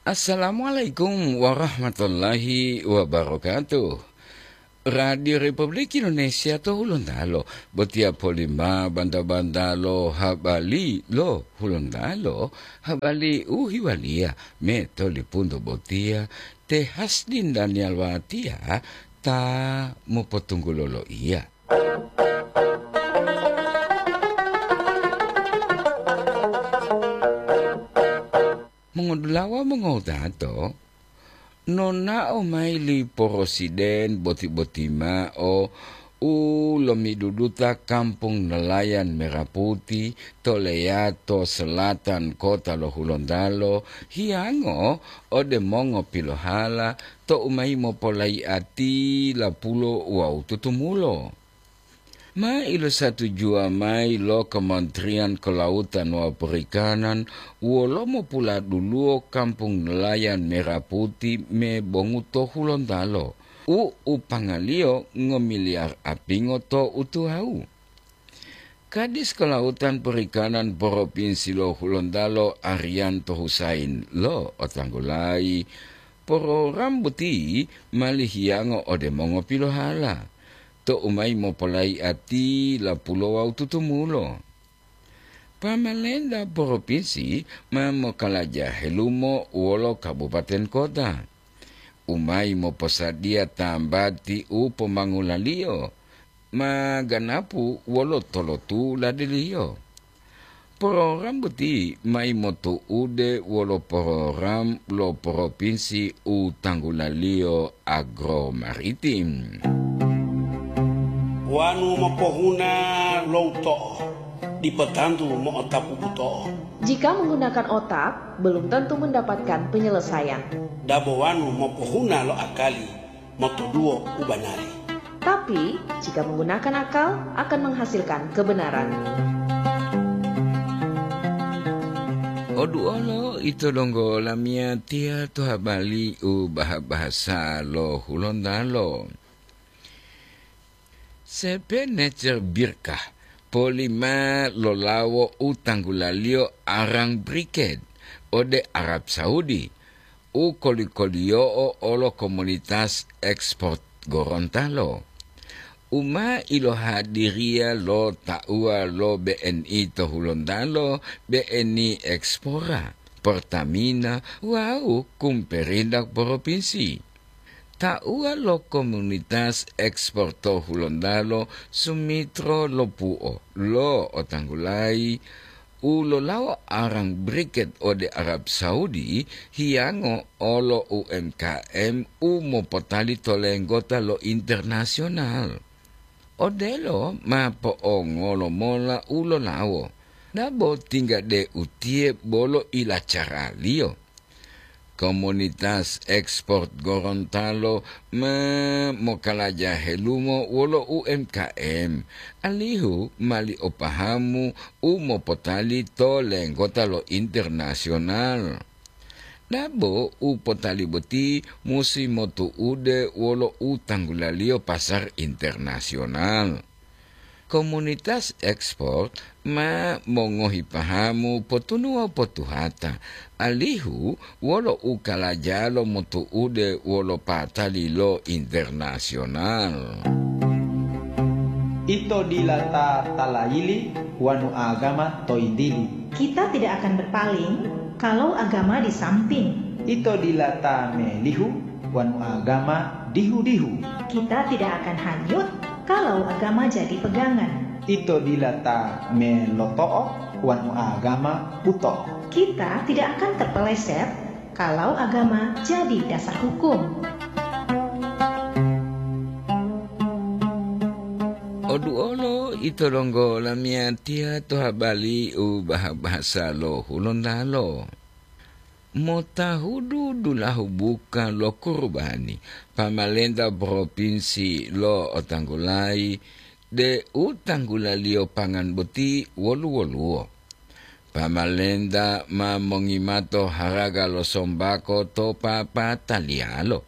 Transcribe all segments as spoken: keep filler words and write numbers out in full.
Assalamualaikum warahmatullahi wabarakatuh. Radio Republik Indonesia to Hulontalo, botiya polima banta-banta lo habali lo Hulontalo, habali u hiwaliya me to lipunto botiya te Hasdin Daniel Watiya ta mopotunggulo loiya. Mongodulawa mongowutato, nonao mayi li porosiden boti-boti mao u lomiduduta kampung nelayan Merah Putih to leyato selatan kota lo Hulontalo, hiyango ode mongopilohala tou mayi mopolaiati lapulo wawu tutumulo. Ma ilosatujuwa mayi lo Kementerian Kelautan wawu Perikanan wolo mopuladuluwo kampung nelayan Merah Putih me bongu to Hulontalo, u upangaliyo ngomiliyar apingo to utuwawu. Kadis Kelautan Perikanan Propinsi lo Hulontalo Arianto Husain lo otanggulayi, porogram boti mali hiyango ode mongopilohala, tou mayi mopolaiati lapulo wawu tutumulo. Pamalenta propinsi ma mokalaja helumo wolo kabupaten kota, u mayi moposadiya tambati u pomangulaliyo, ma ganapu wolo tolotu ladiliyo. Program boti mayi motu'ude wolo program lo propinsi u tanggulaliyo agromaritim. Wanu mopohuna lo uto'o, dipo tantu mo'otapu buto'o. Jika menggunakan otak, belum tentu mendapatkan penyelesaian. Dabo wanu mopohuna lo akali, motoduwo u banari. Tapi, jika menggunakan akal, akan menghasilkan kebenaran. Oduolo ito donggo lamiyatiya to habali u baha-bahasa lo Hulontalo. Sepenecer Birkah polima lolawo u tanggulaliyo arang Briked ode Arab Saudi, u koli-koliyo'o olo komunitas ekspor Gorontalo, u ma ilohadiriya lo tauwa lo B N I to Hulontalo, B N I Ekspora, Pertamina, wawu kumperindak propinsi. Tauwa lo komunitas ekspor to Hulontalo, Sumitro Lopuo, lo otanggulayi u lolawo arang Briked ode Arab Saudi, hiyango olo U M K M u mopotali to lenggota lo internasional. Odelo ma po'ongolo mola u lolawo, dabo tingga de utiye bolo ilacaraliyo. Komunitas ekspor Gorontalo ma mokalaja helumo wolo U M K M, alihu mali o pahamu u mopotali to lenggota lo internasional. Dabo u potali boti musi motu'ude wolo u tanggulaliyo pasar internasional. Komunitas ekspor ma mongohi pahamu potunuwa potuhata, alihu wolo u kalajalo motu'ude wolo patali lo internasional. Ito dila ta talayili wanu agama to yintili. Kita tidak akan berpaling kalau agama di samping. Ito dila ta melihu wanu agama dihu-dihu. Kita tidak akan hanyut kalau agama jadi pegangan. Ito dila ta meloto'o wanu agama buto'o. Kita tidak akan terpeleset kalau agama jadi dasar hukum. Oduolo ito donggo lamiyatiya to habali u baha-bahasa lo Hulontalo. Motahudu dulahu buka lo kurubani, pamalenta propinsi lo otanggulayi de u tanggulaliyo pangan boti wolu-woluwo. Pamalenta ma mongimato haraga lo sombako to papataliyalo.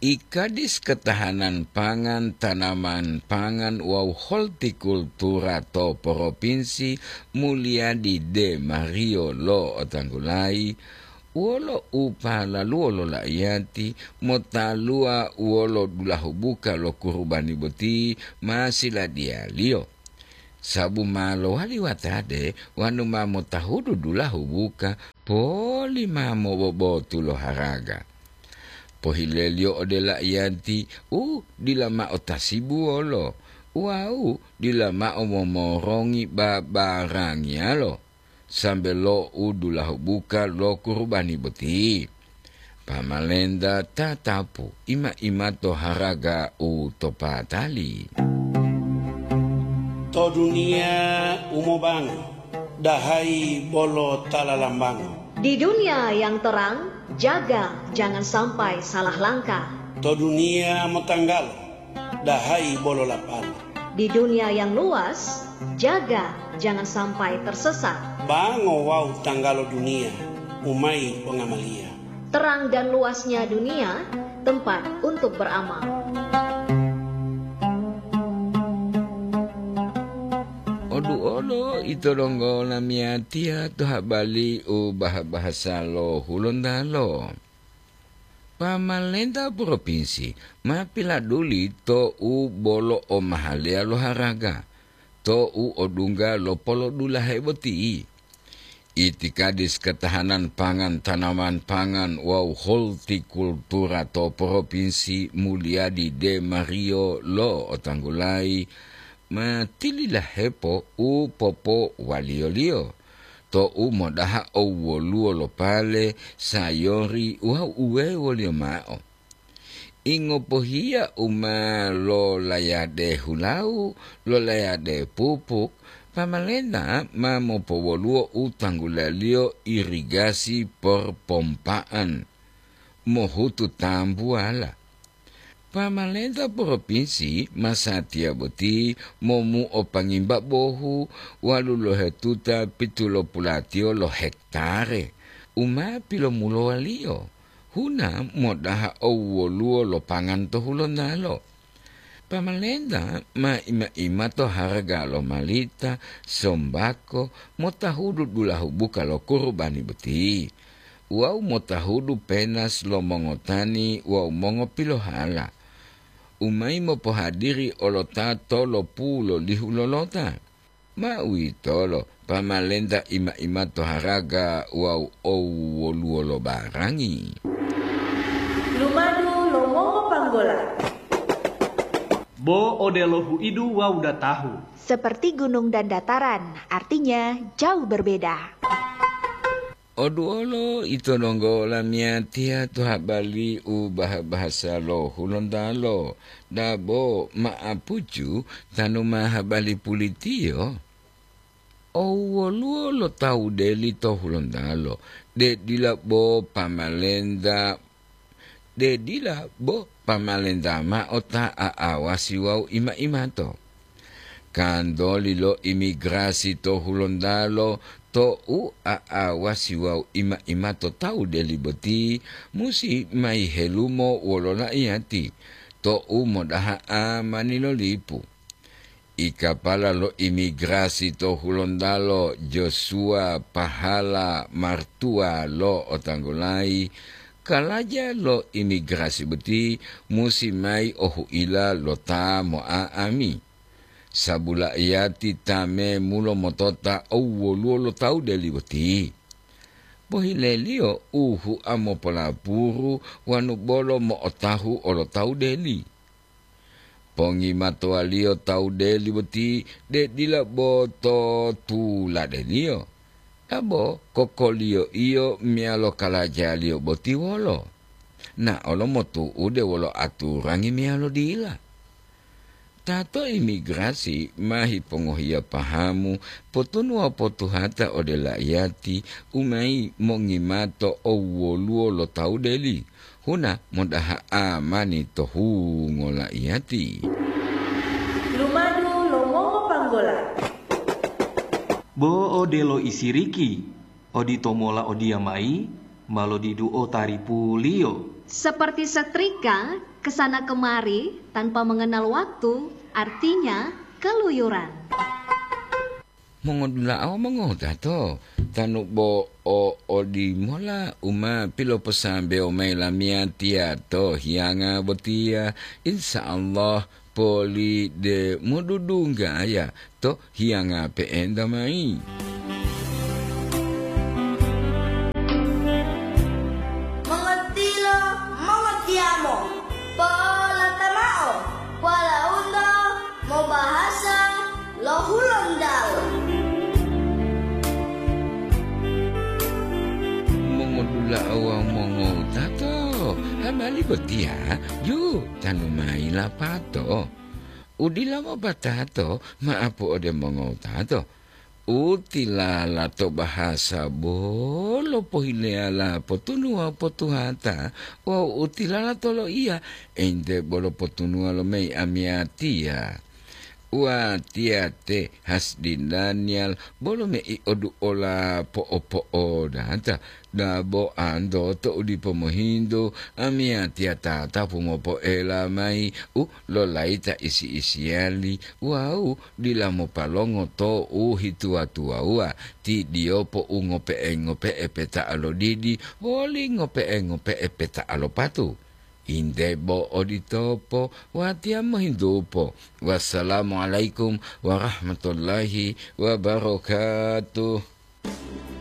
Ikadis Ketahanan Pangan, Tanaman Pangan wawu Holtikultura to Propinsi Mulyadi De Mario lo otanggulayi, Wolo u palaluwo lo laiyati motaluwa wolo dulahu buka lo kurubani boti ma siladiyaliyo, sabu ma lowali watade wonu ma motahudu dulahu buka poli ma mobobotu lo haraga. Pohileliyo ode laiyati u dila mao tasibuwolo wawu dila mao momorongi babarangiyalo, sambe lo u dulahu buka lo kurubani boti. Pamalenta tatapu ima-imato haraga u to patali. To duniya u mobango, dahayi bolo ta lalambango. Di dunia yang terang, jaga jangan sampai salah langkah. To duniya motanggalo, dahayi bolo lapalo. Di dunia yang luas, jaga jangan sampai tersesat. Bango wawu tanggalo duniya, umai pongamaliya. Terang dan luasnya dunia, tempat untuk beramal. Oduolo ito donggo lamiyatiya to habali u baha-bahasa lo Hulontalo. Pamalenta propinsi ma piladuli to u bolo omahaleya lo haraga, to u odungga lo polodulahe boti. Itikadis ketahanan pangan, tanaman pangan wawu holtikultura to propinsi Mulyadi De Mario lo Otanggulai ma tililahepo u popowaliyoliyo to u modaha owwoluwo lo pale, sayori wawu uwewoliyo mao. Ingopohiya u ma lolayade hulawu, lolayade pupuk, pamalenta ma mopowoluwo u tanggulaliyo irigasi porpompa'an mohutu tambuwala. Pamalenta propinsi masatiya boti momuo pangimba bohu walu lohetuta pitulopulatiyo lo hektare u ma pilomulowaliyo huna modaha owwoluwo lo pangan to Hulontalo. Pamalenta ma ima-imato haraga lo malita, sombako, motahudu dulahu buka lo kurubani boti, wawu motahudu penas lo mongotani wawu mongopilohala, u mayi mopohadiri olota to lopu lo lihu lolota. Ma uwitolo, pamalenta ima-imato haraga wawu owwoluwo lo barangi. Lumadu lo mongopanggola. Bo odelo huidu wawu datahu. Seperti gunung dan dataran, artinya jauh berbeda. Oduolo ito donggo lamiyatiya to habali u baha-bahasa lo Hulontalo, dabo ma'apucu tanu ma habali pulitiyo. Owwoluwo lo tawu deli to Hulontalo, de dila bo pamalenta, de dila bo pamalenta mao ta a'awasi wawu ima-imato. Kantoli lo imigrasi to Hulontalo to u a'awasi wawu ima-imato tawu deli boti musi mayi helumo wolo laiyati to u modaha amani lo lipu. Ikapala lo imigrasi to Hulontalo Joshua Pahala Martua lo Otanggulayi, kalaja lo imigrasi boti musi mayi ohuila lo ta mo'a'ami. Sabulaiyati ta memulo motota owwoluwo lo tawu deli boti. Pohileliyo u hua mopolapuru wanu bolo mo'otahu olo tawu deli. Pongimatowaliyo tawu deli boti de dila bo to tuladeliyo, dabo kokoliyo-iyo meyalo kalajaliyo boti wolo, naolo motu'ude wolo aturangi meyalo dila. Ta to imigrasi ma hipongohiya pahamu potunuwa potuhata ode laiyati u mayi mongimato owwoluwo lo tawu deli, huna modaha amani to hungo laiyati. Lumadu lo mongopanggola. Bo odelo isiriki, odito mola odiyamayi ma lodiduo taripuliyo. Seperti setrika kesana kemari tanpa mengenal waktu, artinya keluyuran. Mongodula'a wawu mongotato, Tanu bo o odimola u ma piloposambewo mayi lamiyatiya to hiyanga botiya, insya Allah poli de modudunggaya to hiyanga pe'enta mayi. Mongotilo, mongotiyamo, polotamao, polaunto mobahasa lo Hulontalo. Mongodula'a wawu mongowutato, habari botiya ju tanu mayi lapato. U dila mopatato ma'apu ode mongowutato. U tilala to bahasa bolo pohileyala potunuwa potuhata wawu u tilala to loiya ente bolo potunuwa lo mei amiyatiya. Watiya te Hasdi Daniel bolo mei oduola po'opo'odata. Dabo anto to u dipo mohintu, amiyatiya tatapu mopoela mayi u lolayita isi-isiyali wawu dila mopalongo to u hituwa-tuwawuwa, ti diyopo u ngope'e-ngope'e peta'a lo didi woli ngope'e-ngope'e peta'a lo patu. Inde bo oditopo, watiya mohintupo. Wassalamualaikum warahmatullahi wabarakatuh.